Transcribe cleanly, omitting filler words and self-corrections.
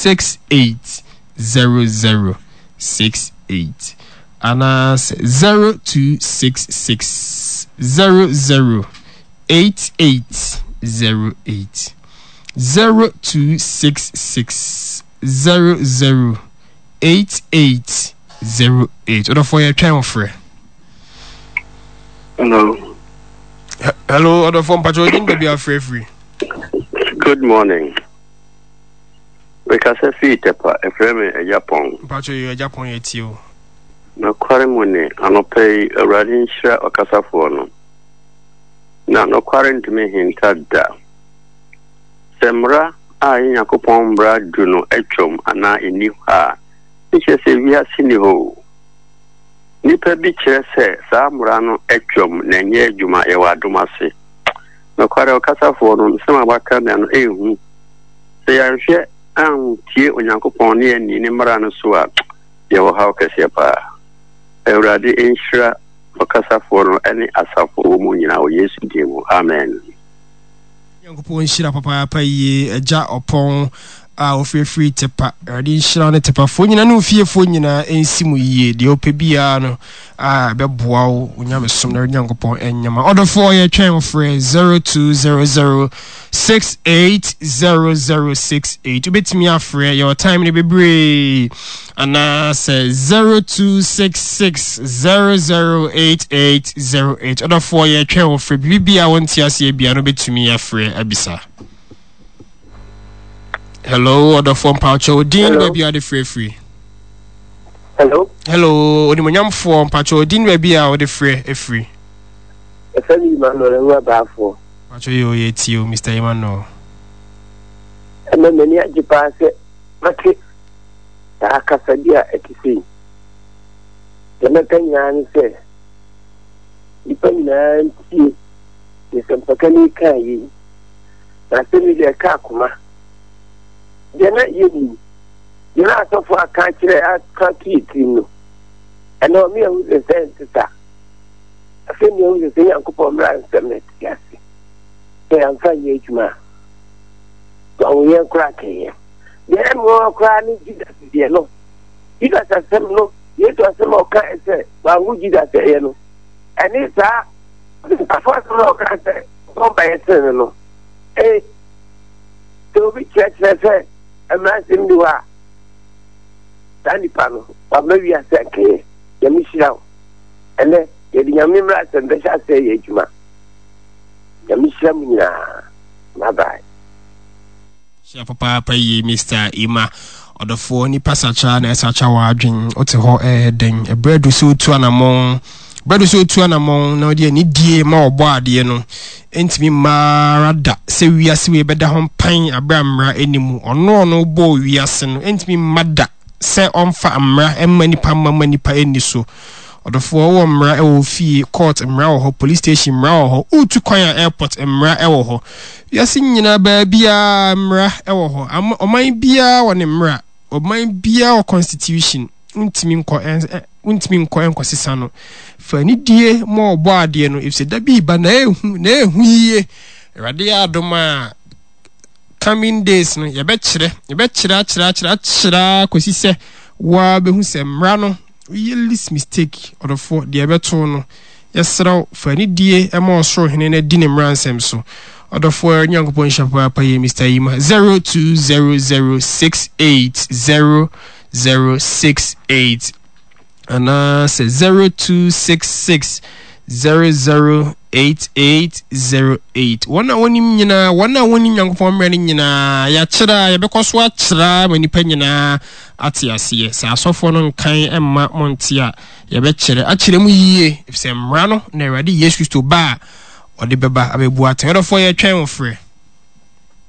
68 00 68 anaasɛ 0266 00 88 08 0266 00 88 08. Ɔdɔfoɔ yɛtwɛn wo frɛ. Hello. Hello, ɔdɔfoɔ mpakyɛ ɔdin baabi afrɛ firi. Good morning. Mekasa fii Tɛpa, ɛfrɛ me Agya Pɔn. Mpakyɛ yɛ Agya Pɔn yɛ tie o. Nokware mu ni, anɔpa yi, Awurade nhyira ɔkasafoɔ no. Na nokware ntumi nhinta da. Sɛ mmara a ɛyɛ Nyankopɔn mmara du no atwam anaa enni hɔ a, ne kyerɛ sɛ wiase nni hɔ o. Nnipa bi kyerɛ sɛ saa mmara no atwam na ɛnyɛ adwuma, yɛwɔ adom ase. Nokware ɔkasafoɔ no, nsɛm a waka nnɛ no ɛyɛ hu. Sɛ yɛanhwɛ antie Onyankopɔn ne yɛanni ne mmara no so a, yɛwɔ haw kɛseɛ paa. Awurade nhyira ɔkasafoɔ no ne asafo wɔ mu nyinaa wɔ Yesu din mu. Amen. Nyankopɔn nhyira papaapa yie Agya Ɔpɔn a ofirifiri Tepa. Awurade nhyira wo ne Tepafoɔ nyinaa ne wo fiefoɔ nyinaa nsi mu yie. Deɛ wopɛ biara no a ɛbɛboa wo wo nyamesom na Awurade Nyankopɔn ɛnyɛ ma. Ɔdɔfoɔ yɛtwɛn wo frɛ 0200 680068. Wobɛtumi afrɛ yɛwɔ time no bebree anaasɛ 0266 008808. Ɔdɔfoɔ yɛtwɛn wo frɛ biribi biara wonte aseɛ biara no wobɛtumi afrɛ abisa. Hello, ɔdɔfoɔ mpakyɛ odin baabi a wode frɛ firi. Hello. Hello, onimonyamfoɔ mpakyɛ odin baabi a wode frɛ afiri. Ɛfɛ mi Emmanuel Awura Baafoɔ. Mpakyɛ yɛ oyɛ tie o Mr. Emmanuel. Ɛnɛ m'ani agye paa sɛ mate saa kasa bi a ɛte sei. Deɛ mɛka nyinaa ne sɛ nnipa nyinaa ntie deɛ sɛmpakani kaa yei. Na asɛm yi deɛ ɛka akoma. Deɛ na yɛnim, deɛ na asɔfo aka akyerɛ aka ato yɛ tirim no, ɛnɛ ɔme ahu sɛ sɛ ɛnte saa. Afei na yɛahu sɛ sɛ Nyankopɔn mmara nsɛm na ɛte ase sɛ yɛamfa nyɛ adwuma a, wawo yɛn koraa kɛyɛ. Deɛ ɛmmoa koraa ne Judas deɛ no. Judas asɛm no, Yesu asɛm a ɔkae sɛ wanwo Judas ɛyɛ no, ɛne saa afo asɛm a ɔkae sɛ ɔba yɛ sene no no. Ee, sɛ obi kyerɛkyerɛ sɛ mmara nsɛm ni hɔ a, saa nipa no, wama wiase ankɛyɛ. Nyame hyira wo. Ɛnɛ, yɛde Nyame mmara asɛm bɛhyɛ aseɛ yɛ adwuma. Nyame hyira mo nyinaa. Bye bye. Hyira papaapa yie Mister Emma. Ɔdɔfoɔ nipa sakra na ɛsakra w'adwen. Wote hɔ ɛyɛ dɛn? Ɛberɛ adu sɛ wotu anamɔn. Berɛ adu sɛ wotu anamɔn na wode anidie ma ɔbɔ adeɛ no. Ɛntumi mma ara da sɛ wiase wei bɛda ho mpan aberɛ a mmara ɛni mu. Ɔno ɔno bɔɔ wiase no. Ɛntumi mma da sɛ ɔmfa mmara mma nipa mma ma nipa ɛnni so. Ɔdɔfoɔ wowɔ mmara wɔ wo fie, court mmara wɔ hɔ, police station mmara wɔ hɔ, woretu kwan a airport mmara wɔ hɔ. Wiase nyinaa baabiara mmara wɔ hɔ. Ama ɔman biara wɔ ne mmara. Ɔman biara wɔ constitution. Wontumi nkɔ wontumi nkɔ nkɔsesa no. Fa anidie ma ɔbɔ adeɛ no efisɛ da bi ba na ehu na ehu yie. Awurade yɛ adom a coming days no yɛbɛkyerɛ yɛbɛkyerɛ akyerɛ akyerɛ akyerɛ kɔsi sɛ woa bɛhu sɛ mmara no Woyɛ least mistake ɔdɔfoɔ, deɛ ɛbɛto wo no, yɛsrɛ wo, fa anidie ma ɔsoro hene na di ne mmaransɛm so. Ɔdɔfoɔ Nyankopɔn nhyira papaapa yie Mister Yima. 0200680068 anaasɛ 0266008808. Wɔn a wɔnim nyinaa, wɔn a wɔnim Nyankopɔn mmerɛ no nyinaa, yɛakyerɛ a yɛbɛkɔ so akyerɛ ma nnipa nyinaa ate aseɛ. Sɛ asɔfoɔ no nkan mma monte a, yɛbɛkyerɛ akyerɛ mu yie, ɛfiri sɛ mmara no na Awurade Yesu Kristo ba a ɔde bɛba abɛbu atɛn. Ɔdɔfoɔ, yɛtwɛn wo frɛ.